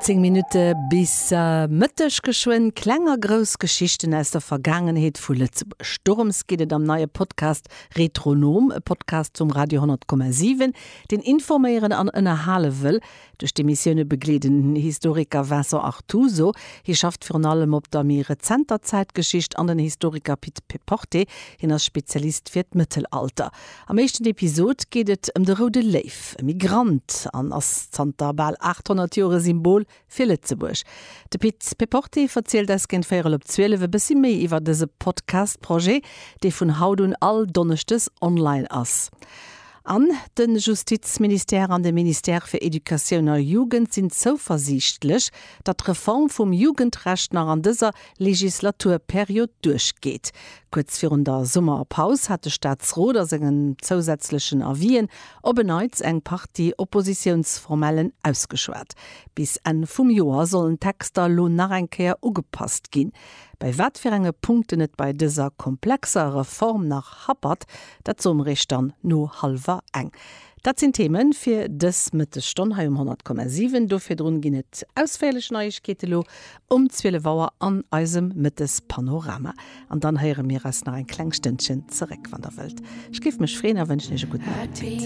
19 Minutte bis Mëtteg geschwënn. Kleng a grouss Geschichten aus der Vergaangenheet vu Lëtzebuerg. Dorëms geet et am neie Podcast Retronom, e Podcast vum Radio 10,7, deen informéieren an ënnerhale wëll. Duerch d'Emissioune begleet den Historiker Vincent Artuso, hie schafft virun allem op der méi rezenter Zäitgeschicht, an den Historiker Pit Péporté, hien ass Spezialist fir d'Mëttelalter. Am éischten Episod geet et ëm de Roude Léif, e Migrant an ass zanter bal 800 Joer e Symbol fir Lëtzebuerg. De Pit Péporté verzielt eis géint véierel op 12 e bëssi méi iwwer dëse Podcast-Projet, dee vun haut un all Donneschdes online ass. An de Justizministère an de Ministère fir Educatioun a Jugend sinn zouversiichtlech, datt d'Reform vum Jugendrecht nach an dëser Legislaturperiod duerchgeet. Kuerz virun der Summerpaus hat de Staatsrot a sengen zousätzlechen Avisen op en Neits eng Partie Oppositiounsformellen ausgeschwat. Bis Enn vum Joer sollen d'Texter elo nach eng Kéier ugepasst ginn. Bei wat fir enge Punkten et bei dëser komplexer Reform nach happert, Dat soe mer iech dann no hallwer eng. Dat sinn d'Theme fir dës Mëttesstonn hei um 100,7. Do virdrun ginn et ausféierlech Neiegkeete lo um 12 Auer an eisem Mëttespanorama. An dann héiere mir eis nach eng kleng Stënnchen zeréck, wann der wëllt. Ech géif mech freeën a wënschen iech e gudden Appetit.